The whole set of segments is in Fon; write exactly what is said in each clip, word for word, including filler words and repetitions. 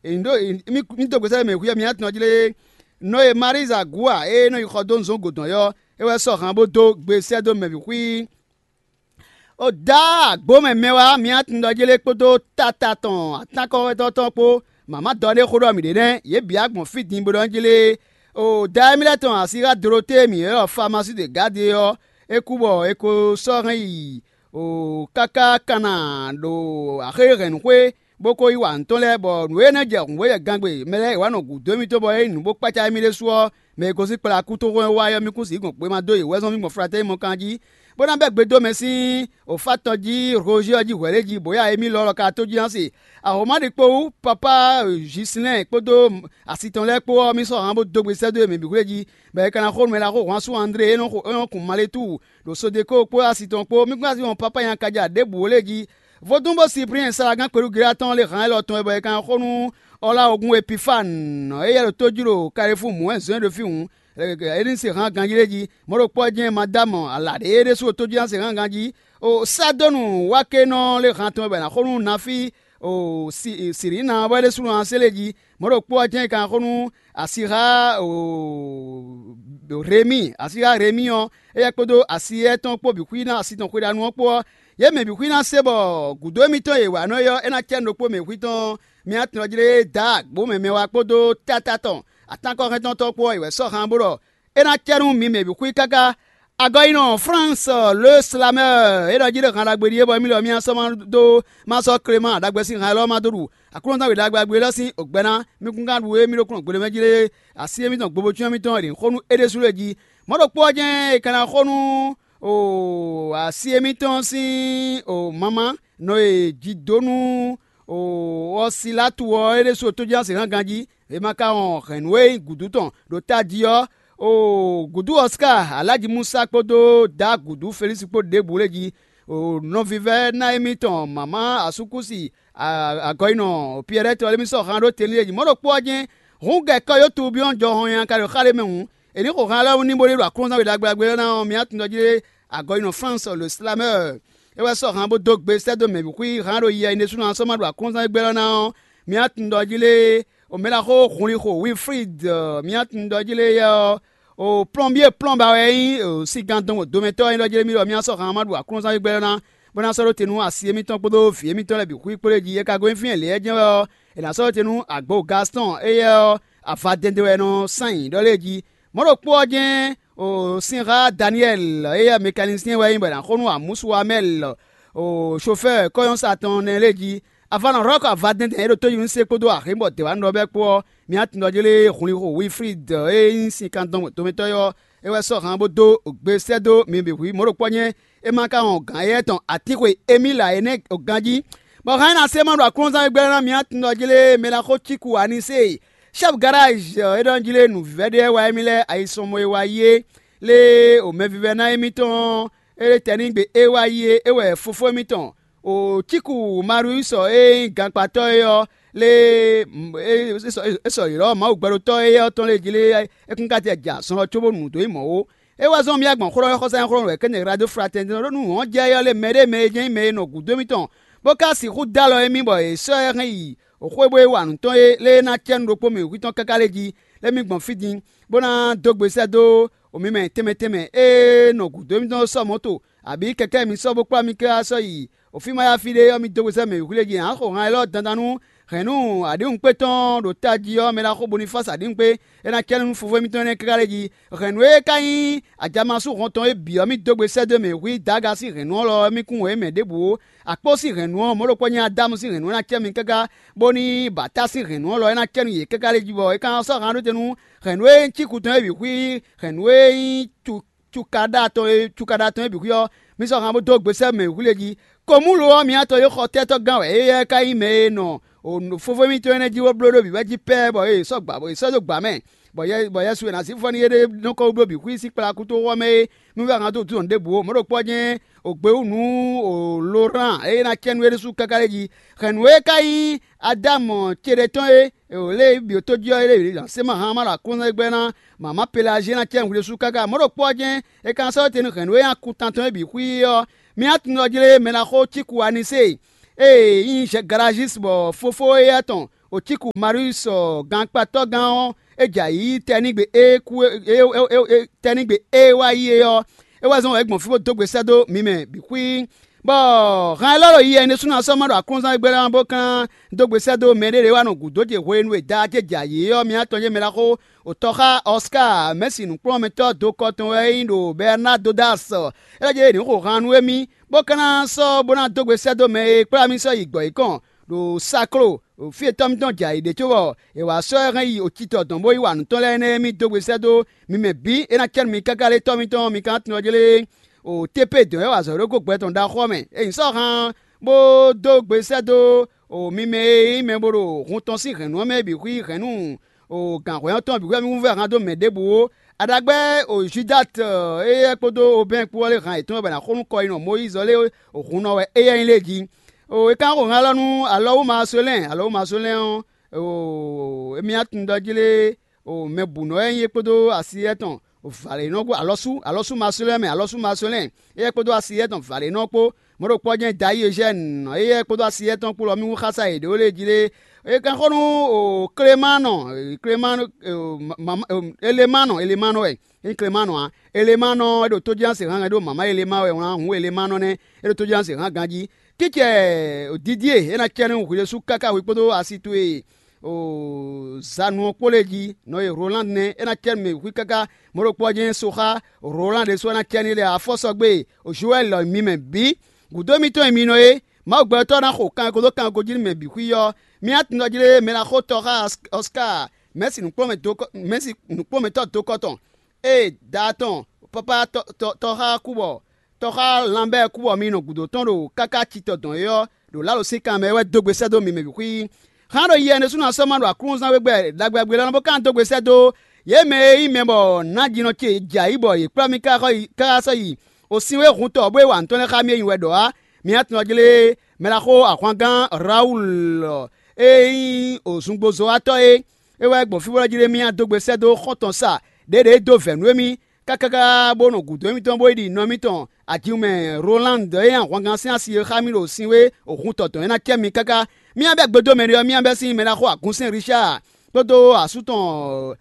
Mǐ dó gbèsè mɛ hwíyɔ mǐ atɔn jí lé. Nɔ e Maríza Gúa e nɔ yi xɔ dó nǔzɔ́ gǒdɔn ɔ́, é wɛ sɔ́ han bó dó gbe sɛ́ dó mɛ bǐ xwí. O dá agbǒ mɛ mɛ wá mǐ atɔn jí lé kpódó tata tɔn atánkɔ́xɔ́tɔ́ tɔn kpó. Mǎmá dɔ ɖé xó ɖɔ mǐ ɖe nɛ́, yě bǐ agbɔ̌n fí din bó ɖɔ jí lé. O dá émí lɛ́ɛ tɔn asíxá Doloté mǐ ylɔ́ Famasí de Gǎde ɔ́, é kú bɔ è ko sɔ́ hɛn yi káká Kana ɖo axéhɛ̌nnúxwé, bó ko yí wa nǔ tɔn lɛ́ɛ, bɔ nǔ e nɔ jɛ hǔngbéjɛ gangbe mɛ lɛ́ɛ è wǎ nɔ gǔdo émítɔn bɔ é nyí nǔ bó kpácá émí ɖésú ɔ́, mɛ e gosín kplá kú tóxó ɔ́ wá ɔ́, mì kún sixú gbɔn gbe ma dó yě wɛ́zɔ́n mì gbɔn Flatɛ́ni mɔ kan jí, bó ná bɛ́ gbe dó mɛ sín òfá tɔn jí Rozyɔ́ɔ jí hwɛ̌ lě jí, bǒ ya émí lɔ lɔ ka tó jí ná se. Ahomáɖi kpó wú, papá Jislɛ́n kpódó asi tɔn lɛ́ɛ kpó ɔ́, mì sɔ́ han bó dó gbe sɛ́ dó yě mɛ bǐ xwlé jí, bɔ è ka ná xo nǔ mɛ ɖaxó hwan sú André e nɔ xo e nɔ kun Maletúu ɖo Sodeko kpó asi tɔn kpó. Mì kún asi wɔn papá nya kaja ɖěbǔ ó lě jí. Vodún bó Siplíɛn Salagán kpelúgelá tɔn lé han élɔ́ tɔn wɛ bɔ è ka ná xo nú Ɔ́láwogún Epifánu, éyɛ́ ɖo tó jí ɖo Kalifúu mǔ wɛ zɔn ɖo fí hǔn, é ní se han ganjí lé jí. Mɔ̌ ɖokpó ɔ́ jɛ́n Madámu alǎ ɖé é ɖésú ɖo tó jí ná se han ganjí. O Sádɔ́nu wá ké nɔ lé han tɔn wɛ bɔ è nǎ xo nú Nafí o Sirǐna ɔ́ bɔ é ɖésú nɔ ná se lé jí. Mɔ̌ ɖokpó ɔ́ jɛ́n è ka ná xo nú asixá Remíi, asixá Remíi ɔ́, éyɛ́ kpódó asi étɔn kpó bǐ xwí ná asi tɔn xweɖanu ɔ́ kpó ɔ́, yě mɛ bǐ xwí ná se bɔ gǔdo émítɔn e è wa nɔ é ɔ́, é ná cɛ nú ɖokpó mɛ xwí tɔn. Mǐ atɔn jí lé dǎ agbǒ mɛ mɛ wá kpódó táta tɔn atánkɔ́hɛntɔ́ tɔn kpó ɔ́, è wɛ sɔ́ han bó ɖɔ é ná cɛ nú mi mɛ bǐ xwí káká. Agɔyinɔ Flánsi le Slamɛ́ɛ é ɖɔ jí ɖɔ han ɖagbe ɖíe bɔ émí lɔ mì sɔ́ ma dó ma sɔ́ Klemáan ɖagbe sín han élɔ́ ma dó ɖu Aklúnɔzán we ɖagbe ɖagbe élɔ́ sín ògbɛ́ ná. Mì kún ka ɖu émí ɖokúnɔ gbeɖé mɛ jí lé, asi émítɔn gbobocyɔ́n émítɔn e ɖě xó nú é ɖésú lɛ́ɛ jí. Mɔ̌ ɖokpó ɔ́ jɛ́n è ka ná xo nú asi émítɔn sín mamá nɔ e jidonu ɔ́ Silatu ɔ́ é ɖésú tójínásehángan jí, è ma ka wɔn hɛ̌nnu e nyí gǔdú tɔn ɖo tají ɔ́, gǔdú Ɔsika, Alǎji Musa kpódó Dǎ gǔdú Felísi kpó ɖěbǔ lě jí. Nɔvívɛ́ná émítɔn mǎmá Asúkúsi agɔyinɔ Piyɛ́rɛ́ tɔn lɛ́ɛ mì sɔ́ han ɖó tɛnlí e jí. Mɔ̌ ɖokpó ɔ́ jɛ́n hǔn gɛ̌ kɔ́yótu byɔ́ jɔhɔn nyankadó xa ɖé mɛ hǔn, è nǐ xo han lɛ́ɛ ní bó ní ɖo Aklúnɔzán we ɖagbe ɖagbe ɔ́ ná ɔ́, mǐ tunwun ɖɔ jí lé agɔyinɔ Flánsi le Slamɛ́ɛ é wɛ sɔ́ han bó dó gbe sɛ́ dó mɛ bǐ xwí han ɖo yɛ é ɖésúnɔ ná sɔ́ ma ɖo Aklúnɔzán égbé ɔ́ ná ɔ́, mǐ tunwun ɖɔ jí lé o mɛ ɖaxó Hunlixo Wilfrid, mǐ tunwun ɖɔ jí lé yɛ ɔ́ o plɔ́nbyé plɔ́nba wɛ é nyí o sígán dɔn domɛtɔ́ é ɖɔ jí lé mì ɖɔ mǐ sɔ́ han ma ɖo Aklúnɔzán égbé ɔ́ ná bó ná sɔ́ ɖó te nú asi émítɔn kpódó vǐ émítɔn lɛ́ɛ bǐ xwí kpó lě jí. É ka gosín fínɛ́ lě ɔ́ jɛ́n wɛ ɔ́, è nǎ sɔ́ ɖó te nú agbo Gastɔn, éyɛ́ ɔ́, avadɛndɛn wɛ è nɔ sán nyi ɖɔ lɛ́ɛ jí. Mɔ̌ ɖokpó ɔ́ jɛ́n o sinxá Daniyɛ́li, éyɛ́ mɛkanisiyɛn wɛ é nyí bɔ è nǎ xo nú Amúsu Amɛ́li, o sofɛ́ɛ kɔ́nyɔ́sa tɔn nɛ́ lɛ́ɛ jí. Avanɔ Rɔ́ku avadɛndɛn e ɖo tójínúse kpódó axǐ bɔ dɛ̌wánú ɖɔ bɛ́ kpó ɔ́, mǐ tunwun ɖɔ jí lé Hunlixo Wilfrid e nyí sinkandɔn domɛtɔ́ ɔ́, é wɛ sɔ́ han bó dó gbe sɛ́ dó mi bǐ hwí. Mɔ̌ ɖokpó ɔ́ jɛ́n é ma ka wɔn gǎn éyɛ́ tɔn atín xwe émí lǎ é nɛ́ ganjí, bɔ hɛn ná se ma ɖo aklúnɔzán e gbɛ́ ná mǐ tunwun ɖɔ jí lé mɛ ná xó cíku Anisée, chɛ́fu garázi é ɖɔ jí lé nǔvívɛ́ ɖé wá émí lɛ́ɛ ayisɔnmɔ e wá yi é lé o mɛvívɛ́ná émítɔn é tɛnígbe é wá yi é é wɛ fofó émítɔn o cíku Mariusɔ e nyí gankpatɔ́ é ɔ́ lé é sɔ yě lɔ Mawu gbɛɖotɔ́ éyɛ́ ɔ́ tɔn lé jí lé é kún ka tɛ ja zɔn ɔ́ cóbó nǔ dó nyí mɔ̌ ó. É wá zɔ́n mì gbɔn xlɔ́ xɔsá nyí xlɔ́ wɛ kéne Glado Fratɛnitɛn ɖó nú hɔn jɛ yɔ lé mɛ ɖé mɛ e jɛ́n nyí mɛ e nɔ gǔdo émítɔn, bó ka sixú dó alɔ émí bɔ è sɔ́ ɛ hɛn yi xwé bó é wa nǔ tɔn é lé é ná cɛ́ nú ɖokpó mɛ wěkwín tɔn káká lé jí, lé mì gbɔn fí din, bó ná dó gbe sɛ́ dó mǐ mɛ tɛnmɛ tɛnmɛ e nɔ gǔdo émítɔn sɔ́ mɔ̌to, abǐ kɛkɛ́ mi sɔ́ bó kplá mi káká sɔ́ yi o fí ma yá fí ɖé ɔ́, mi dó gbe sɛ́ mɛ wěkwín lé jí. Ǎ xo han élɔ́ dandan nú hɛ̌nnu aɖǐwunkpé tɔn ɖo tají ɔ́, mɛ ɖaxó Bonifási aɖǐwunkpé, é ná cɛ́ nú fofó émítɔn énɛ́ káká lé jí. Hɛ̌nnu e ka nyí ajamasu hɔn tɔn é bǐ ɔ́, mì dó gbe sɛ́ dó mɛ hwǐ Daga sín hɛ̌nnu ɔ́ lɔ ɔ́, mì kún wǒ é mɛ ɖěbǔ ó. Akpó sín hɛ̌nnu ɔ́, mɔ̌ ɖokpó nyí Adámu sín hɛ̌nnu ɔ́ ná cɛ́ mi káká, bóní bǎta sín hɛ̌nnu ɔ́ lɔ é ná cɛ́ nú yě káká lé jí, bɔ é ka ná sɔ́ han ɖó te nú hɛ̌nnu e nyí cíkú tɔn é bǐ xwí, hɛ̌nnu e nyí cu cukaɖa tɔn e cukaɖa tɔn e bǐ xwí ɔ́, mi sɔ́ han bó dó gbe sɛ́ mɛ wǔ lé jí. Komúlo ɔ́, mi atɔn e xɔ tɛ́tɔ́gán wɛ éyɛ́ ka nyí mɛ e nɔ fofó mitɔn énɛ́ jí bó bló ɖó bǐ wɛ jí pɛ́ bɔ è sɔ́ gbǎ bɔ è sɔ́ dó gbǎ mɛ, bɔ Yɛsu e ná sí fɔ n'i é ɖe nɔ kɔ wú bló bǐ xwí sín kplá kúto ɔ́ mɛ é. Nú vɛ́ han dó dún ɖěbǔ ó, mɔ̌ ɖokpó ɔ́ jɛ́n o gbe wú nǔ o Lorán e ná cɛ́ nú é ɖésú káká lɛ́ɛ jí. Hɛ̌nnu e ka nyí Adámu ce ɖé tɔn é, lě e bǐ tó jí ɔ́, é ɖe zǎn sɛ́ ma han ma ɖo aklúnɔ́ gbɛ́ ná mǎmá Pelazíɛ ná cɛ́ hwi ɖésú káká. Mɔ̌ ɖokpó ɔ́ jɛ́n è ka ná sɔ́ te nú hɛ̌nnu e nyi akuntantɔn é bǐ xwí ɔ́, mi ná tunwun ɖɔ jí lé mɛ ná xó cíku Anisée, ée nyí Galazísi bɔ fofó éyɛ́ tɔn Ocíku Marius gankpatɔ́gán ɔ́, é jɛ ayǐ tɛnígbe e kú tɛnígbe e wá yi é ɔ́, é wɛ zɔ́n wɛ é gbɔn fí bó dó gbe sɛ́ dó mi mɛ bǐ xwíí. Bɔ han élɔ́ ɖo yi ɛnɛ ɖésúnɔ ɔ́ sɔ́ ma ɖo aklúnzán e gbé lɛ́ɛ ɔ́ bó kán dó gbe sɛ́ dó mɛɖé ɖě wá nɔ gǔdo ce hwenu e da ce jɛ ayǐ é ɔ́, mǐ atɔn ce mɛ ná xó. Tɔxá Ɔskáa Mɛ̌si nǔkplɔ́nmɛtɔ́ dokɔ tɔn wɛ é nyí ɖo Bɛrnádo Dasɔ. É lɛ́ jɛ yě ní xo han nú émí, bó ka ná sɔ́ bó ná dó gbe sɛ́ dó mɛ e kplá mì sɔ́ yi gbɔ̌ yěkɔn ɖo Saklo, ɖo fí e tɔ́ mitɔn jɛ ayǐ ɖe cóbɔ è wǎ sɔ́ ɛ hɛn yi ocitɔ dɔn bó yi wa nǔ tɔn lɛ́ɛ énɛ́ émí dó gbe sɛ́ dó mi mɛ bǐ é ná cɛ́ nú mi káká lé tɔ́ mitɔn mi ka ná tunwun ɔ́ jlé. O Tépée dɔ̌n wɛ wa azɔ̌ ɖó gó gbɛ tɔn ɖaxó ɔ́ mɛ. È nyi sɔ́ han bó dó gbe sɛ́ dó o mi mɛ e nyí mɛ bo ɖo hun tɔn sín hɛ̌nnu ɔ́ mɛ bǐ xwí hɛ̌nnu o gǎnhwɛ́ ɔ́ tɔn bǐ wɛ mì wú vɛ́ han dó mɛ ɖěbǔ ó. Aɖagbɛ́ o Judáte éyɛ́ kpódó Obɛ́n kpó ɔ́ lé han yětɔn wɛ bɔ è nǎ xo nú kɔ e nɔ Mɔyízi ɔ́ lé o hǔn nɔ wɛ éyɛ́ nyí lé jí. O è ka xo han élɔ́ nú Alɔwúmasolɛ́n, Alɔwúmasolɛ́n ɔ́, o émí ná tunwun ɖɔ jí lé o mɛ bǔ nɔ wɛ nyí é kpódó asi étɔn vǎlěnɔ kpó alɔsú alɔsú Masolɛ́n mɛ alɔsú Masolɛ́n éyɛ́ kpódó asi étɔn vǎlěnɔ kpó mɔ̌ ɖokpó ɔ́ jɛ́n Dayí Eugène éyɛ́ kpódó asi étɔn kpó lɔ mì wú xása yě ɖó lě jí lé. É ka xo nú o Klemanɔ Klemanɔ Elemanɔ Elemanɔ wɛ é nyí Klemanɔ ǎ. Elemanɔ é ɖo tójínásě hánhɛn ɖó mǎmá Elema wɛ wlán hǔn Elemanɔ nɛ́ é ɖo tójínásě hán ganjí. Kícɛ Didie é ná cɛ nú hwi ɖésú káká hwi kpódó asi towe o zanu ɔ́ kpó lɛ́ɛ jí. Nɔ e Rolande nɛ́ é ná cɛ nú mɛ hwi káká mɔ̌ ɖokpó ɔ́ jɛ́n so xá Rolande ɖésú ɔ́ ná cɛ n'i lɛ afɔ́sɔgbe Joɛ́li mi mɛ bǐ. Gǔdo mitɔn e mi nɔ é, Mawu gbɛtɔ́ ná xo kanko dó kanko jí nú mɛ bǐ xwí ɔ́, mi ná tunwun ɖɔ jí lé mɛ ná xó tɔ xá Ɔskaa Mɛ̌si nǔkplɔ́nmɛtɔ́ dokɔ tɔn e da tɔn pápá tɔxá kú bɔ tɔxá lanbɛ́ kú bɔ mi nɔ gǔdo tɔn ɖo káká citɔ dɔn é ɔ́, ɖo Lalo sín kan mɛ é wɛ dó gbe sɛ́ dó mi mɛ bǐ xwí. Hán ɖo yɛ ɖésúnɔ sɔ́ ma ɖo aklúnɔzán wégbɛ ɖagbe ɖagbe lɛ́ɛ nɔ bó ka dó gbe sɛ́ dó yě mɛ e nyí mɛ bɔ nǎjínɔ ce jɛ ayǐ bɔ yě kplá mì káká sɔ́ yi o sin wé hun tɔ bó e wa nǔ tɔn lɛ́ɛ xá mì é nyi wɛ ɖɔ ǎ. Mi ná tunwun ɔ́ jlé mɛ ɖaxó ahwangán Rawulu e nyí zungbozɔ́watɔ́ é. É wɛ gbɔn fí bó lɛ́ jlé mì dó gbe sɛ́ dó xɔ́ntɔn sa ɖěɖě dó vɛ̌ nú émí káká bó nɔ gǔdo émítɔn bó yi ɖi nɔ émítɔn Ajimɛ Rolande e nyí ahwangán sín asi e xá mì ɖo sin wé hun tɔtɔn é ná cɛ mi káká. Mì bɛ́ gbedomɛ ɖé ɔ́, mì bɛ́ sín mɛ ɖaxó agúnsɛ́n Richard kpódó asú tɔn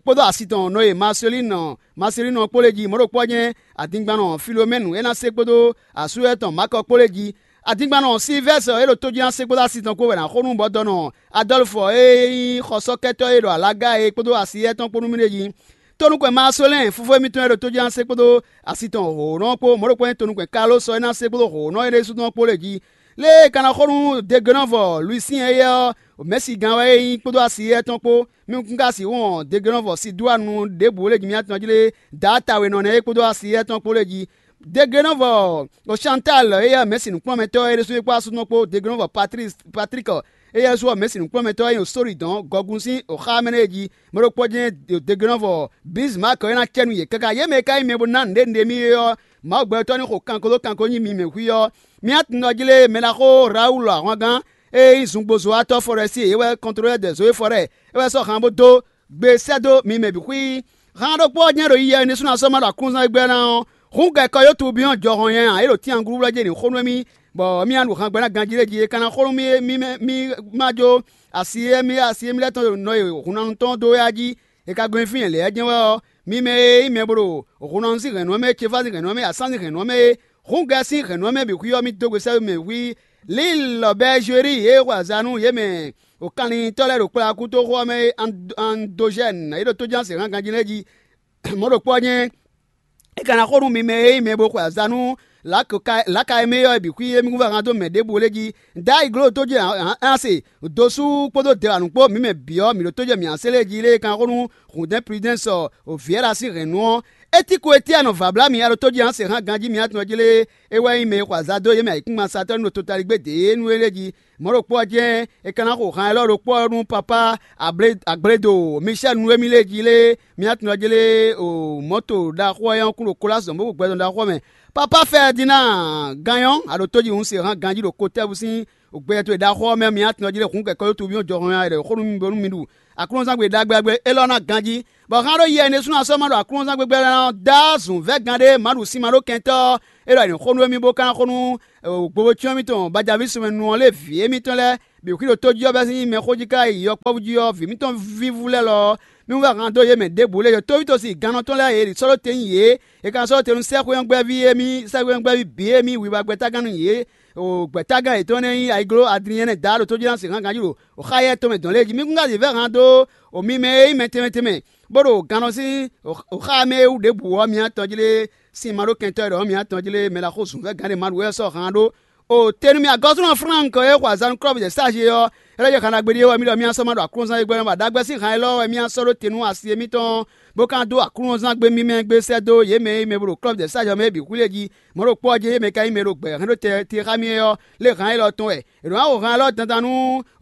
kpódó asi tɔn nɔ e Marcelino Marcelino kpó lɛ́ɛ jí mɔ̌ ɖokpó ɔ́ nyɛ́ adingbannɔ Filomɛnu é ná se kpódó asú étɔn Makɔ kpó lɛ́ɛ jí. Adingbannɔ Silvɛ́sɔ e ɖo tójínásé kpódó asi tɔn kpó wɛ ná xo nú bɔdɔnɔ Adɔlfɔ e nyí xɔsɔ́kɛtɔ́ e ɖo alaga é kpódó asi étɔn kpó nú mì ɖ'é jí. Tonukpɛn Masolɛ́n fúfú émítɔn e ɖo tójínásé kpódó asi tɔn hǒnɔ kpó mɔ̌ ɖokpó nyí tonukpɛn Kalósɔ e ná se kpódó hǒnɔ é ɖésú tɔn kpó lɛ́ɛ jí. Lě e è ka ná xo nú degenɔ́vɔ Luisín éyɛ́ ɔ́, mɛ̌sigán wɛ é nyí kpódó asi éyɛ́ tɔn kpó. Mi kún ka sixú wɔn degenɔ́vɔ Sidúanu ɖěbǔ lě jí mì atɔn jí lé Daata we nɔ nɛ́ é kpódó asi éyɛ́ tɔn kpó lɛ́ɛ jí. Degenɔ́vɔ Chantal éyɛ́ mɛ̌si nǔkplɔ́nmɛtɔ́ é ɖésú é kpó asú tɔn kpó degenɔ́vɔ Patlík éyɛ́ sú ɔ́ mɛ̌si nǔkplɔ́nmɛtɔ́ é nyí Sóridɔn gɔgun sín xá mɛ nɛ́ é jí. Mɛ ɖokpó jɛ́n degenɔ́vɔ Bizmak é ná cɛ nú yě káká. Yě mɛ e ka nyí mɛ bó ná nǔɖé nǔɖé mì é ɔ́, Mawu gbɛtɔ́ ní xo kanko dó kanko nyi mi mɛ xwí ɔ́. Mi atɔn jí lé mɛ ná xó Rawulu ahwangán e nyí zungbozɔ́watɔ́ Fɔrɛsi é wɛ kɔntlolɛ́ dɛ̌ Zoe Fɔrɛ é wɛ sɔ́ han bó dó gbe sɛ́ dó mi mɛ bǐ xwí. Han ɖokpó ɔ́ jɛ́n ɖo yiyɛ nɛ́ sú ná sɔ́ ma ɖo aklúnzán égbɛ́ ná ɔ́, hǔn gɛkɔ yótú byɔ́ jɔhɔn nyanya é ɖo tínagúɖúblɛ́ jí ní xó nú émí, bɔ mì ná ɖu han gbɛ ná ganjí lé jí é ka ná xó nú mì mì má jó asi e mì asi e mì lɛ́ tɔn ɖo nɔ e hǔnnanu tɔn dó wɛ a jí. È ka gɔn nyi fí nyɛ lɛ̌ jɛ́n wɛ ɔ́, mi mɛ e nyí mɛ bo ɖo hǔnnanu sín hɛ̌nnu ɔ́ mɛ, cefá sín hɛ̌nnu ɔ́ mɛ, asán sín hɛ̌nnu ɔ́ mɛ é, hǔngɛ sín hɛ̌nnu ɔ́ mɛ bǐ xwí ɔ́, mì dó gbe sɛ́ mɛ hwí. Lǐlɔ Bɛɛzweri e xwe azǎn nú yě mɛ ɖo kanlintɔ́ lɛ́ɛ ɖo kplɔ́yákútoxo ɔ́ mɛ é, Andojɛ́ni e ɖo tójánse hán ganjí lɛ́ɛ jí. Mɔ̌ ɖokpó ɔ́ nyɛ́ é ka ná xo nú mi mɛ e nyí mɛ bo xwe azǎn nú lǎka e mɛ é ɔ́ bǐ xwí émí kún vɛ́ han dó mɛ ɖěbǔ lé jí. Dayi gló tó jɛ ǎ se dosú kpódó dɛwanu kpó mǐ mɛ bǐ ɔ́, mǐ ɖo tó jɛ mǐ ǎ se lé jí lé kan xó nú hǔndɛ́n Pridɛ́nsɔ Vǐɛ́la sín hɛ̌nnu ɔ́. Étíku e Tíanɔ vǎblá mǐ a ɖo tó jɛ ǎ se hán ganjí mǐ atɔn jí lé, é wɛ nyí mɛ e xɔ azǎn dó yě mɛ ayǐkúngban satɔ́ ní ɖo totaligbé dě é nú é lé jí. Mɔ̌ ɖokpó ɔ́ jɛ́n è ka ná xo han élɔ́ ɖokpó ɔ́ nú papá Agblédo Micɛ́lu nú émí lé jí lé, mǐ atɔn jí lé o mɔ̌to ɖaxó ɔ́ nyɔ́ kún ɖo Kolasi dɔn bó gbɛdɔn ɖaxó ɔ́ mɛ. Papá Fɛdinaa Ganyɔ́ a ɖo tójihún se hán ganjí ɖo Kotɛ́bu sín gbɛjɛ towe ɖaxó ɔ́ mɛ, mǐ atɔn jí lé hǔn kɛkɔ́ yótú byɔ́ jɔhɔn nya ɖɔ xó nú mi bónú mi ɖu aklúnɔzán gbe ɖagbe ɖagbe élɔ́ ná ganjí, bɔ hán ɖó yɛ énɛ́ sú ná sɔ́ ma ɖo aklúnɔzán gbégbé lɛ́ɛ ná dó azɔ̌ vɛ́ gán ɖé Maɖusin ma ɖó kɛntɔ́ é ɖɔ è nǐ xo nú émí bó ka ná xo nú gbovócyɔ́n mitɔn Bajavísumɛnu ɔ́ lé vǐ émítɔn lɛ́ɛ bǐ xwí ɖo tójí ɔ́ bɛ́ sín mɛxó jí ká yi yɔkpɔ́vú jí ɔ́, vǐ mǐtɔn vívú lɛ́ɛ lɔ ɔ́, mí wú wɛ han dó yě mɛ ɖěbǔ lɛ́ɛ. Yǒtóví tɔn sín gannɔ tɔn lɛ́ɛ e sɔ́ ɖó te nyi yě; è ka sɔ́ ɖó te nú sɛ́xwé ɔ́ gbɛ́ví émí, sɛ́xwé ɔ́ gbɛ́ví bǐ émí wiwa gbɛ́tágán nú yě, o gbɛ̌tágán yětɔn énɛ́ nyí ayiglo Adliɛ́nɛ Daá ɖo tójí ná sin hán ganjí ɖo xá éyɛ́ tɔn mɛ dɔn lɛ́ɛ jí. Mí kún ka zǐn vɛ́ han dó o mi mɛ e nyí mɛ tɛnmɛ tɛnmɛ, bó ɖo gannɔ sín xá mɛ e wú ɖěbǔ ɔ́, mi atɔn jlé sin ma ɖó kɛntɔ́ e ɖɔ mǐ atɔn jlé mɛ ɖaxó zunvɛ́gán ɖé ma ɖu wɛ sɔ́ han ɖó. O te nú mì agɔ́súnɔ Flánk e xɔ azǎn nú klɔ́bu jɛ sáze ɔ́, é lɛ́ jɛ xanagbe ɖíe wɛ mì ɖɔ mì asɔ́ ma ɖo Aklúnɔzán e gbɛ́ bɔ aɖagbɛ́ sín han élɔ́ wɛ mì asɔ́ ɖó te nú asi e mǐtɔn, bó ka dó Aklúnɔzán gbé mímɛ́ gbé sɛ́ dó yě mɛ e mɛ bo ɖo klɔ́bu jɛ sáze ɔ́ mɛ é bǐ xwí lɛ́ɛ jí. Mɔ̌ ɖokpó ɔ́ jɛ́n yě mɛ ka nyí mɛ ɖo gbɛ̌ hɛn ɖó te xá mì é ɔ́, lě han élɔ́ tɔn wɛ. È nɔ wá xo han élɔ́ dandan nú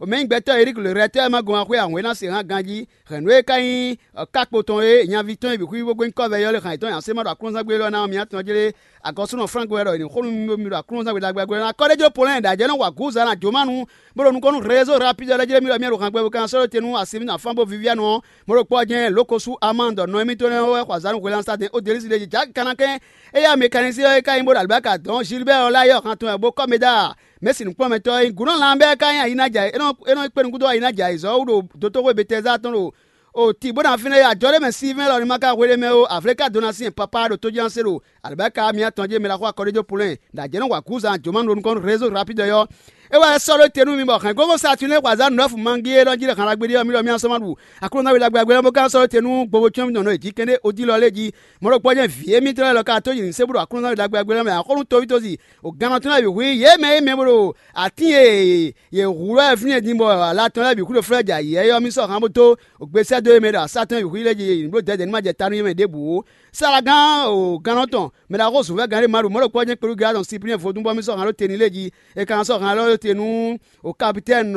mɛ̌nyigbɛ́tɔ́ Erík le Rɛtɛ́ɛ ma gɔn axwé ahwɛ̌ ná se hán ganjí. Hɛ̌nnu e ka nyí kákpo tɔn e nyaví tɔn e bǐ xwí bó gbɛ́ nyí kɔ́vɛ ɔ́ lé han yětɔn nyi asé ma ɖo Aklúnɔzán gbé élɔ́ ná ɔ́, mǐ atɔn jlé agɔ̌súnɔ Flánk wɛ ɖɔ è nǐ xo nú mi ɖo Aklúnɔzán we ɖagbe ɖagbe ná. Kɔ́ɖéjó Polɛ́ɛ ɖo ajɛ̌ nɔ wa gǔza ná jǒmánu bó ɖo nukɔn nú rézó rapídɔ lɛ́ɛ jlé mì ɖɔ mì ɖo han gbɛ bo ka sɔ́ ɖó te nú asi mǐtɔn afán bó víví anɔ ɔ́. Mɔ̌ ɖokpó ɔ́ jɛ́n Lókosú Amándɔ nɔ émítɔn lɛ́ɛ wɛ xɔ azǎn nú hwelɛ́núsatɛn Odɛlísi ɖ'é jí. Jǎ kanakɛ́n éyɛ́ Mekanizí ɔ́ e ka nyí bó ɖo alibáka dɔn Zilibɛ́ɛ ɔ́ lɛ́ɛ yɔ́ han tɔn wɛ bó kɔ́ mɛ dó a? Mɛ̌si nǔkplɔ́nmɛtɔ́ ɔ́ nyí gǔnɔ lanbɛ́ ká nyí ayi ná jɛ é nɔ é nɔ kpé nukúnɖó ayi ná jɛ ayǐzɔ́wú ɖo dotó xwé Betɛzá tɔn ɖo o tǐ bó ná fínɛ́ yá jɔ ɖé mɛ Silvɛ́n lɔ ní ma ka hwelé mɛ ó, avlé ka dó ná syɛ́n papá ɖo tójánse ɖo alibáka mǐ atɔn jé mɛ ɖaxó akɔɖéjó Polɛ́ɛ ɖo ajɛ̌ nɔ wa gǔzan jǒmánu ɖo nukɔn nú rézó rapídɔ ɔ́. É wɛ sɔ́ ɖó te nú mi bɔ hɛ̌ngbɔ́vɔ́ Satunɛ́ xɔ azǎn nǔɖɔ́fǔ mangí élɔ́ jí lɛ́ han ɖagbe ɖé ɔ́, mì ɖɔ mì asɔ́ ma ɖu Aklúnɔzán we ɖagbe ɖagbe lɛ́ɛ bó ka sɔ́ ɖó te nú gbogbo cyɔ́n mitɔn nɔ e jí kɛ́ɖɛ́ odí lɔ lɛ́ɛ jí. Mɔ̌ ɖokpó ɔ́ jɛ́n vǐ émítɔn lɛ́ɛ lɔ ka tó yi nǔ sé bó ɖo Aklúnɔzán we ɖagbe ɖagbe lɛ́ɛ mɛ axɔ́nú toví tozi o gannɔ tɔn lɛ́ɛ bǐ hu yě mɛ e mɛ bó ɖo atín e yě hu lɔ wɛ fínɛ́ din bɔ ala tɔn lɛ́ɛ bǐ hu ɖo flɛ́ jɛ ayǐ é ɔ́, mì sɔ́ han bó dó gbesɛ́ dó e mɛ ɖo asá tɔn e bǐ hu lɛ́ɛ jí yě ní bló dɛ̌dɛ̌ ní ma jɛ ta nú yě mɛ ɖěbǔ ó. Salagán o gannɔ tɔn mɛ ɖaxó zunvɛ́gán ɖé ma ɖo mɔ̌ ɖokpó ɔ́ jɛ́n kpelú Galati tɔn Siplíɛn vodún bɔ mì sɔ́ han ɖó te n'i lé jí. È ka ná sɔ́ han élɔ́ ɖó te nú o kapitɛ́ni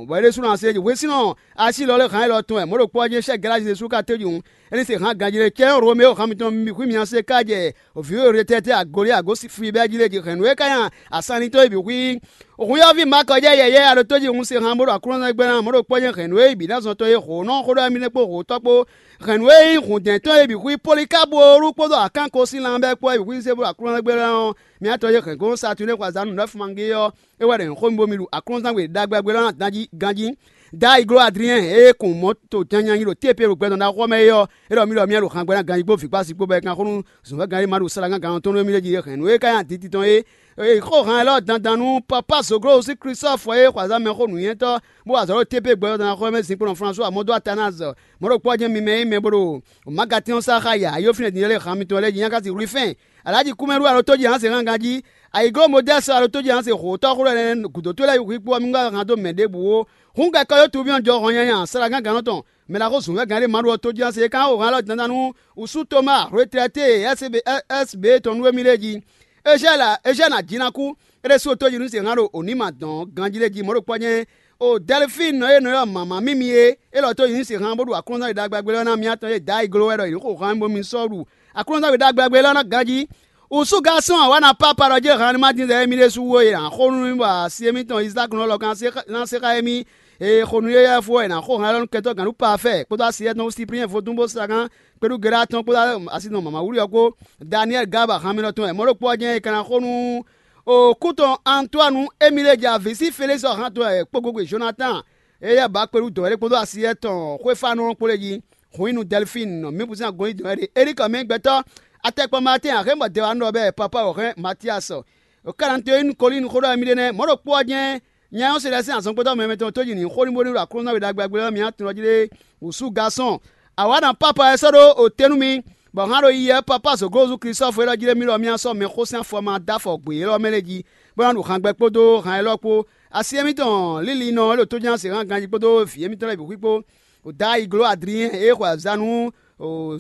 bɔ é ɖésúnɔ asi é jí hwesínɔ asi lɔ lé han élɔ́ tɔn wɛ mɔ̌ ɖokpó ɔ́ jɛ́n sɛ́ Galati ɖésú ka téjú. É ní se han ganjí ɖé cɛ́ Romeo han mitɔn mi xwí mi asi é ká jɛ vǐ e retɛ́tɛ́ agolé agó fibɛ́ jí lé jí hɛ̌nnu e ka nya asannitɔ́ e bǐ xwí. Hwíyɔ́ví Makɔ jɛ yɛ̌yɛ́ a ɖo tó jí hun se han bó ɖo Aklúnɔzán gbɛ́ ná mɔ̌ ɖokpó jɛ́n hɛ̌nnu e bǐ ná zɔn tɔn e hǒnɔ xó ɖɔ émí nɛ́ kpó hǒtɔ́ kpó hɛ̌nnu e nyí hǔndɛ́ntɔ́ e bǐ xwí Polikábu kpódó Akánko sín lanbɛ́ kpó e bǐ xwí se bó ɖo Aklúnɔzán gbɛ́ ná ɔ́, mi atɔn e hɛ̌ngbɔ́n Satunɛ́ xɔ azǎn nǔɖɔ́fú mangé ɔ́, é wɛ ɖo nyǐxó mì bó mi ɖu Aklúnɔzán we ɖagbe ɖagbe lɔ ná dan jí ganjí. Dayi gló Adriɛn e kun mɔ̌ to janyanyi ɖo tépe ɖo gbɛdɔn ɖaxó ɔ́ mɛ é ɔ́, é ɖɔ mì ɖɔ mì ɖo han gbɛ ná ganjí kpó vǐ kpó asi kpó bɔ é kan xó nú zɔ̌nvɛ́gán e ma ɖo salagan gannɔ tɔn nú émí lɛ́ɛ jí é hɛn nǔ e ka nyi aditi tɔn é. È xó han élɔ́ dandan nú Papa Zoglosi Klísɔ́fɔ e xɔ azǎn mɛxó nǔnywɛ́tɔ́ bó wa azɔ̌ ɖo tépe gbɛdɔn ɖaxó ɔ́ mɛ zinkpo nɔ Flasuwa Amɔ́dó Atanazɔ. Mɔ̌ ɖokpó ɔ́ jɛ́n mi mɛ e nyí mɛ bó ɖo Magatɛ́n ɔ́ sá xá ya ayó fínɛ́ din lɛ́ɛ han mitɔn lɛ́ɛ jí nyákási Rwifɛ́n, Alǎji Kúmɛɖú alɔtójí Hanse hángan jí, ayǐgló Modɛ́si alɔtójí Hanse xǒtɔ́ xó lɛ́ɛ ɖo gǔdo tó lɛ́ɛ hwíkpó ɔ́, mi wá han dó mɛ ɖěbǔ ó. Hǔn kɛkɔ́yó tuví ɔ́ jɔ hɔn nyanya, salagángannɔ tɔn, mɛ ɖaxó zǔnvɛ́gán ɖé ma ɖu ɔ́ tójí Hanse e kán xo han élɔ́ dandan nú wǔsú Toma, hwetɛ́tɛ́ e S B S B tɔn nú émí lɛ́ɛ jí. Ezhɛ́ɛnì Ajinakú, é ɖésú tójí nú se hán ɖo Onima dɔn ganjí lɛ́ɛ jí mɔ̌ ɖo kpɔ́ nyɛ. O Dɛlifíinu e nɔ ylɔ́ mama mímí é, é lɔ tójí nú se hán bó ɖu Aklúnɔzán ɖagbe ɖagbe lɛ́ɛ ná mì atɔn e dǎ ayǐgló wɛ ɖɔ yě xo han bó mi sɔ́ ɖu Aklúnɔzán ɖagbe ɖagbe lɛ́ɛ ná ganjí. Wǔsú gásɔ́n awǎ ná pápá ɖɔ jɛ́n han ní ma dín zɛ émí ɖésú wú é, yě ná xo nú mi bɔ asi émítɔn Izáki nɔ lɔ kan ná se xá émí. Ee xo nú yéyɛ́ fó wɛ è nǎ xo han élɔ́ nú kɛntɔ́ gǎn nú Pafɛ́ɛ kpódó asi étɔn Siplíɛn vodún bó sa gán kpéɖú Gerá tɔn kpódó asi nɔ mama wúli ɔ́ kpó. Daniɛ́li Gaba han mitɔn tɔn wɛ mɔ̌ ɖokpó ɔ́ jɛ́n è ka ná xo nú okú tɔn Antoanu émí lě jɛ avǐ sí Felísi ɔ́ han tɔn wɛ kpógógbe Jonatán, éyɛ́ ba kpéɖú dɔ̌ é kpódó asi étɔn Xwéfánɔ kpó lě jí. Hǔn nyi nú Dɛlifíinu nɔ mǐ kún sín agɔn yí dɔ̌ é ɖe. Elíkɔ mɛ nyí gbɛtɔ́, atɛkpɔ Maatɛ́n axémɔ dɛwannɔ bɛ́ Papa wɛ hɛn Matíasɔ. Kananteyinu Kolíinu xó ɖɔ émí ɖe nɛ́, mɔ̌ ɖokpó ɔ́ jɛ́n nya ɔ́ se lɛ́ sín azɔngbétɔ́ mɛmɛ tɔn tó jí nǐ xó ní bónú ɖo Aklúnɔzán we ɖagbe ɖagbe ɔ́ mǐ atɔn jí lé wǔsú gásɔn. Awǎ ná pápá ɛ sɔ́ ɖó o te nú mi, bɔ hán ɖo yiyi ɛ pápá zǒglozú Klísɔ́fu élɔ́ jí lé mì ɖɔ mì ná sɔ́ mɛxó sín afɔ ma dó afɔ gbě élɔ́ mɛ lɛ́ɛ jí, bó ná ɖu hangbɛ kpódó han élɔ́ kpó. Asi émítɔn lílinɔ e ɖo tójánse hán ganjí kpódó vǐ émítɔn lɛ́ɛ bǐ xwí kpó. Dayi gló Adriɛn e xɔ azǎn nú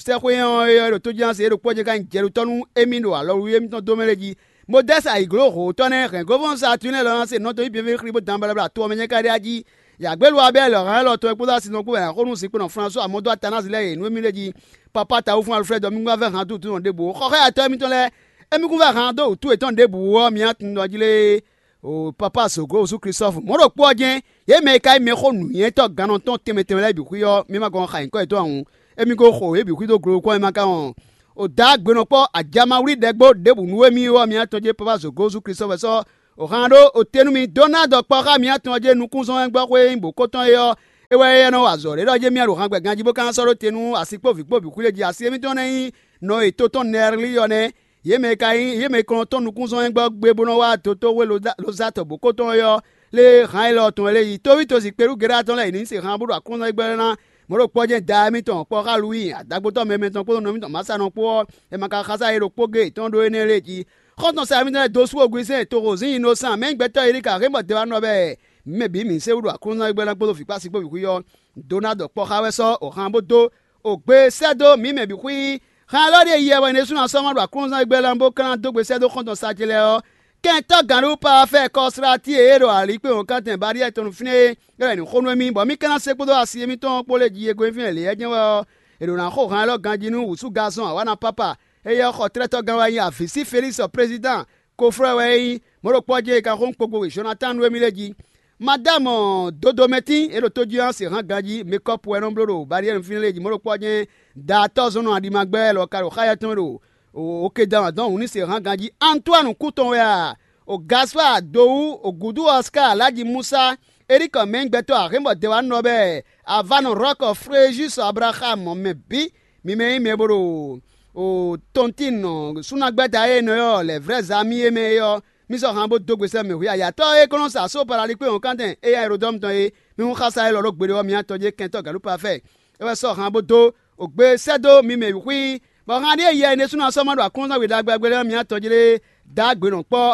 sɛ́xwé ɔ́ é ɖo tójínase é ɖokpó ɔ́ jɛ́n ka nyí jɛɖutɔ́ nú émí ɖo alɔwlí émítɔn dó mɛ lɛ́ɛ jí. Modɛ́si ayǐgló hǒtɔ́ nɛ́ hɛn gɔ́vɔ́n Saatúnɛ́ lɔ ná se nɔ tɔn yí bǐ xwlí bó dan balabla to ɔ́ mɛ nyɛ́ ka ɖe ají. Yǎgbélu Abɛ́li lɔ̌ hán élɔ́ tɔn e kpódó asi nɔ kpó wɛ ná xo nú zinkpo nɔ Flasuwa Amɔ́dó Atanasi lɛ́ɛ e nǔ émí lɛ́ɛ jí. Papa Tawúfún Alfrɛ́di ɔ́, mi kún wá vɛ́ han dúdú nɔ ɖěbǔ ó. Xɔxɔ́yatɔ́ émítɔn lɛ́ɛ, émí kún vɛ́ han dó wǔtu yětɔn ɖěbǔ ó ɔ́, mi ná tunwun ɖɔ jí lé. O Papa Zoglo Wúsú Klísɔ́fu mɔ̌ ɖokpó ɔ́ jɛ́n, yě mɛ e ka nyí mɛxó nǔnywɛ́tɔ́ gannɔtɔn tɛnmɛ tɛnmɛ lɛ́ɛ bǐ xwí ɔ́, mi ma gɔn xa nyǐkɔ yětɔn ǎ hǔn, émí ko xo yě bǐ xwí dó glokpɔ́ e ma ka wɔn o dǎ gbenɔkpɔ́ ajamawlí ɖɛgbó ɖěbǔ nú émí ɔ́, mi atɔn jɛ́n Papa Zoglo Wúsú Klísɔ́fu wɛ sɔ́ O han ɖó o te nú mi dó ná dɔ kpɔ́ xá mǐ atɔn ɔ́ jɛ nukúnzɔ́n e gbɔ́ xwé nyí bǒ kó tɔn é ɔ́, é wɛ é nɔ wa azɔ̌ ɖé ɖɔ jɛ mì a ɖo han gbɛ ganjí bó ka ná sɔ́ ɖó te nú asi kpó vǐ kpó bǐ xwí lě jí. Asi émítɔn ná nyí nɔ e to tɔn Nɛrlí ɔ́ nɛ́. Yě mɛ e ka nyí yě mɛ e kɔn tɔn nukúnzɔ́n e gbɔ́ gbe bó nɔ wá dotóxwé Lozatɔ bǒ kó tɔn é ɔ́, lé han élɔ́ tɔn é lé yi. Tóví tosi Kpelúgeɖá tɔn lɛ́ɛ yě ní se han bó ɖo aklúnɔ́gbɛ́ ná mɔ̌ ɖo kpɔ́ jɛ́n da émítɔn kpɔ́ xá Luwíi, adagbotɔ́ mɛ mɛtɔn kpódó nɔví tɔn Masa nɔ kpó ɔ́, è ma ka xá sá yě ɖo kpó géé yětɔn ɖó énɛ́ lɛ́ɛ jí. Xɔ́ntɔn Saamítɔn lɛ́ɛ dó sú ogun Izlayɛ́li toxo zǐn nyi nɔ sán mɛ nyí gbɛtɔ́ Elika hɛn bɔ dɛwanɔ bɛɛ mɛ bǐ mǐ se wú ɖo aklúnɔ́gbɛ́ ná kpódó vǐ kpó asi kpó vǐ xwí ɔ́. Dó ná ɖɔ kpɔ́ xá wɛ sɔ́ o han bó dó o gbe sɛ́ dó mǐ mɛ bǐ xwí. Han élɔ́ ɖíe yɛ wɛ ɖésú ná sɔ́ ma ɖo aklúnɔ́gbɛ́ ná bó ka ná dó gbe sɛ́ dó xɔ́ntɔn sa ce lɛ́ɛ ɔ́. Kɛntɔ́ gǎnɖupa ɔ́ fɛ kɔsláti e é ɖo alǐkpé wɔ̌nkantɛn Bariɛ́ tɔn nú fínɛ́ é, é wɛ è nǐ xo nú émí, bɔ mì ka ná se kpódó asi émítɔn kpó lě jí e gɔ́ nyí fínɛ́ lě ɔ́ jɛ́n wɛ ɔ́, è ɖǒ ná xo han élɔ́ ganjí nú wǔsú Gazɔn awǎna pápa. Éyɛ́ xɔ tlɛ́tɔ́gán wɛ nyí avǐ sí Felísi ɔ́, prezidán koflɔ́ wɛ é nyí, mɔ̌ ɖokpó ɔ́ jɛ́n è ka xo nú kpogbowe Jɔnatánu émí lɛ́ɛ jí. Madámɔ Dodomɛtín e ɖo tójí ɔ́ se hán ganjí, mekɔ́pu wɛ nɔ bló ɖo Bariɛ́nu fínɛ́ lɛ́ɛ jí, mɔ̌ ɖokpó ɔ́ jɛ́n da atɔ́ zɔn nɔ aɖima gbɛ́ lɔ ka ɖo xá yɛ́ tɔn ɖo Okedan dɔn wǔ ní se hán ganjí. Antoine kú tɔn wɛ a? O Gaspar Dowú, o gǔdú Oscar Alhaji Musa, Eric mɛngbɛtɔ́ Ahɛnbɔ Dɛwanɔ bɛɛ, Avanɔ Rɔk Fréjus Abraham mɛ bǐ, mi mɛ nyí mɛ bo ɖo o Tontin súnagbɛ́ta e nɔ ylɔ́ lɛ̌ vrɛ́ zá mì é mɛ é ɔ́, mi sɔ́ han bó dó gbe sɛ́ mɛ hwǐ ayatɔ́ e kɔn nɔ sa só Palalikpé wɔ̌nkantɛn éyɛ́ Elodɔ́mu tɔn é. Mi hún xá sa élɔ́ ɖó gbeɖé ɔ́, mi atɔn jɛ́n kɛntɔ́ Galúpa fɛ. É wɛ sɔ́ han bó dó o gbe sɛ́ dó mi mɛ bǐ xwí, bɔ han ɖíe yɛ é ɖésú ná sɔ́ ma ɖo aklúnɔ́zán we ɖagbe ɖagbe lɛ́ɛ ɔ́, mi atɔn jlé dó agbě nɔ kpɔ́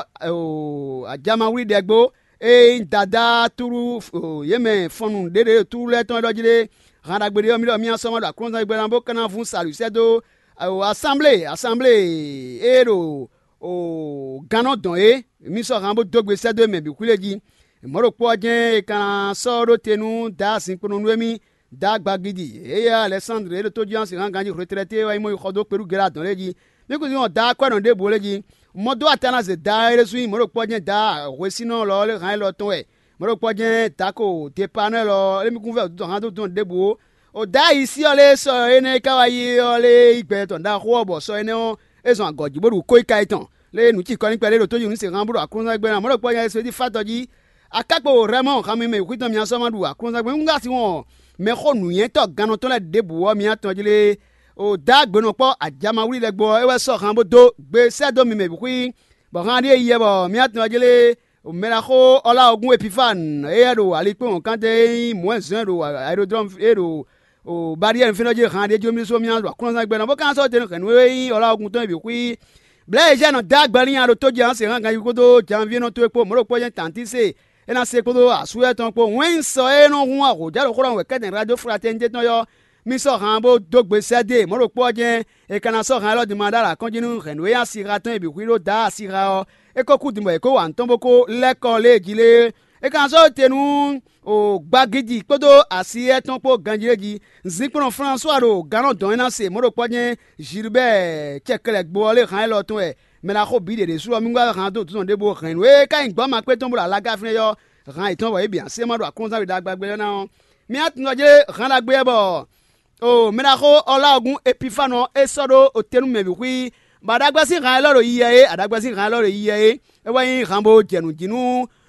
ajamawlí ɖɛgbo e nyí Dadá tlú yě mɛ fɔnnu ɖěɖě tlú lɛ́ɛ tɔn élɔ́ jlé. Han ɖagbe ɖé ɔ́, mi ɖɔ mi ná sɔ́ ma ɖo aklúnɔ́zán we ɖagbe ná bó ka ná vún sa ɖu sɛ́ dó asanblée asanblée e ɖo gannɔ dɔn é. Mi sɔ́ han bó dó gbe sɛ́ dó mɛ bǐ xwí lɛ́ɛ jí. Mɔ̌ ɖokpó ɔ́ jɛ́n è ka ná sɔ́ ɖó te nú Daá zinkpo nɔ nú émí, Daá gbagidi, éyɛ́ Alɛsándli e ɖo tójínɔ́sin hán ganjí hwletlɛ́ téé wɛ nyí mɔ yi xɔ dó kpelú Gɛlá dɔn lɛ́ɛ jí. Mí kún zɔ́n Daá kwɛ́ nɔ ɖěbǔ lɛ́ɛ jí. Mɔ dó atana zě Daá é ɖésú nyí mɔ̌ ɖokpó ɔ́ jɛ́n Daá hwesínɔ lɔ lé hán élɔ́ tɔn wɛ. Mɔ̌ ɖokpó ɔ́ jɛ́n Dako Depanɛ́ lɔ é mí kún vɛ́ dó hán dó dɔn ɖěbǔ ó. O Daá yi sí ɔ́ lé sɔ énɛ́ e ka wá yi ɔ́ lé yí gbɛ tɔn ɖaxó ɔ́ bɔ sɔ énɛ́ ɔ́, é zɔn agɔ̌ jí bó ɖu kó yi ka yi tɔn. Lé nǔ cikɔ ní kpɛɖé ɖo tójú nǔ se hán bó ɖo aklúnɔ́gbɛ́ ná mɔ̌ ɖokpó ɔ́ nya é só jí fá tɔ jí. Akákpo Rɛmɔ́ɔ xanmimɛ xwítɔ́n mia sɔ́ ma ɖu aklúnɔ́gbɛ́ nú asi wɔn mɛ xó nǔnywɛ́tɔ́ gannɔtɔ́ lɛ́ɛ ɖěbǔ ɔ́, mia tɔn jlé o dó agbě nɔ kpɔ́ ajamawlí lɛ́ɛ gbo ɔ́, é wɛ sɔ́ han bó dó gbe sɛ́ dó mi mɛ bǐ xwí, bɔ han ɖíe yɛ bɔ mia tɔn jlé mɛɖaxó Ɔláwɔgún Epifánu, éyɛ́ ɖo alikpɔ́n wɔ̌nkantɛn e nyí mɔ̌ɛnzɔ́n ɖo ayodrɔ́mu e ɖo o Bariɛ́nu fínɛ́ jí han ɖé jó mì ɖésú mì ná ɖo aklúnɔzán gbɛ ná bó ka ná sɔ́ te nú hɛ̌nnu e nyí Ɔláwɔgún tɔn é bǐ xwí. Blɛ̌ e Jɛ́nɔ dó agbɛ n'i nya ɖo tójɛ ɔ́ se hán ganjí kpódó janvíénɔ towe kpó mɔ̌ ɖokpó jɛ́n tantí se é ná se kpódó asú lɛ́ɛ tɔn kpó. Wɛ́n sɔ e nɔ hun ahǒjá ɖo xó ɖɔ wɛ kɛ́tɛn radio Fratɛnité tɔn ɔ́, mì sɔ́ han bó dó gbe sɛ́ dó e mɔ̌ ɖokpó ɔ́ jɛ́n è ka ná sɔ́ han élɔ́ din ma ɖó alǎ kɔn jí nú hɛ̌nnu e nyí asixa tɔn e bǐ xwí ɖó Daá asixa ɔ́. É ko kú din bɔ è kó wa nǔ tɔn bó kó lɛ́ kɔ lě e jí lé. É ka ná sɔ́ te nú o gbagidi kpódó asi étɔn kpó ganjí é jí. Zinkplɔ́n Flasuwa ɖo gannɔ dɔn e ná se mɔ̌ ɖokpɔ́ jɛ́n Zilibɛ́ɛ cɛkɛlɛgbo ɔ́ lé han élɔ́ tɔn wɛ. Mɛ ɖaxó bǐ ɖě ɖésú ɔ́, mì wá han dó dǒdɔn ɖěbǔ hɛ̌nnu e ka nyí gbɔ́ makpé tɔn bó ɖo alaga fínɛ́ ɔ́, han yětɔn bɔ yě bǐ ná se ma ɖo aklúnɔzán we ɖagbe ɖagbe lɛ́ɛ ná ɔ́. Mi ná tunwun ɔ́ jlé han ɖagbe ɔ́ bɔ o mɛ ɖaxó Ɔláwɔgún Epifánu ɔ́, é sɔ́ ɖó o te nú mɛ bǐ xwí, bɔ aɖagbɛ́ sín han élɔ́ ɖo yiyɛ é, aɖagbɛ́ sín han élɔ́ ɖo yiyɛ é. É wɛ nyí han bó jɛ nǔ jí nú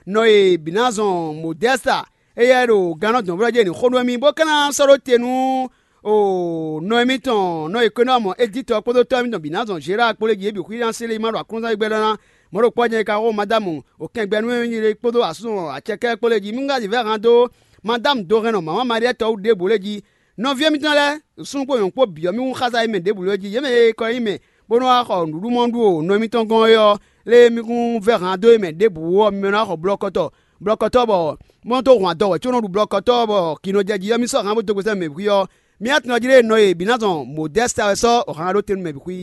nɔ e bǐ ná zɔn Modɛ́sta, éyɛ́ ɖo gannɔ dɔ̌nvlɔ́ jɛ ní xó nú émí, bó ka ná sɔ́ ɖó te nú o nɔ émítɔn nɔ e kɔ́nɔmɔ Editɔ kpódó tɔ́ émítɔn bǐ ná zɔn Zerá kpó lé jí é bǐ xwí ná sélé ma ɖo aklúnɔzán gbɛ lɔ́ ná. Mɔ̌ ɖokpó ɔ́ jɛ́n é ka xo Madámu o kɛngbɛnú e nyí kpódó asúnɔ acɛkɛ́ kpó lé jí. Mí ŋgá zǐ vɛ́ han dó Madámu do hɛn nɔ mǎmá Maɖiɛ́ tɔ́ wú ɖěbǔ lé jí. Nɔví ɔ́ mítɔn lɛ́ɛ, súnnu kpó nyɔ̌nu kpó bǐ ɔ́, mì hún xá sa yi mɛ ɖěbǔ lɛ́ɛ jí. Yě mɛ e kɔ nyí mɛ, bó nɔ́ wá xɔ nǔɖuɖu mɔ ɖu o nɔ émítɔn gɔ́n é ɔ́, lé mì hún vɛ́ han dó yě mɛ ɖěbǔ ɔ́, mi mɛ nɔ wá xɔ blɔkɔtɔ, blɔkɔtɔ bɔ mɔ tó hun adɔ wɛ̌ có nɔ ɖu blɔkɔtɔ bɔ kǐ nɔ jɛ jí ɔ́, mì sɔ́ han bó dó gbe sɛ́ mɛ bǐ xwí ɔ́. Mi atɔn ɔ́ jlé nɔ e bǐ ná zɔn Modɛ́sta wɛ sɔ́ o han ɖó te nú mɛ bǐ xwí.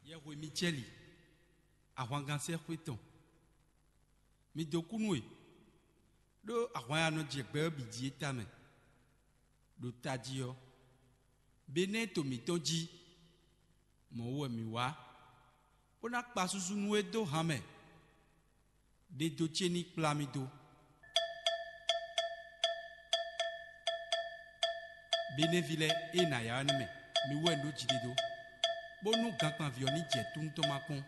Yɛhwe Micɛ́li, ahwangán sɛ́ xwé tɔn, mi dó kú nú e, ɖó ahwan ya nɔ jɛ gbɛ ɔ́ bǐ jí é tamɛ. Ɖo tají ɔ́, Benɛ́ɛ to mǐtɔn jí, mɔ̌ wú wɛ mǐ wá, bó ná kpa susu nú é dó han mɛ. Ɖe do ce ní kplá mì dó. Benɛ́ví lɛ́ɛ, ée nǎ ya ɔ́ nɛ́ mɛ, mi wú wɛ un ɖó jiɖe dó, bónú gankpanví ɔ́ ní jɛ tún tɔn ma kpɔ́n.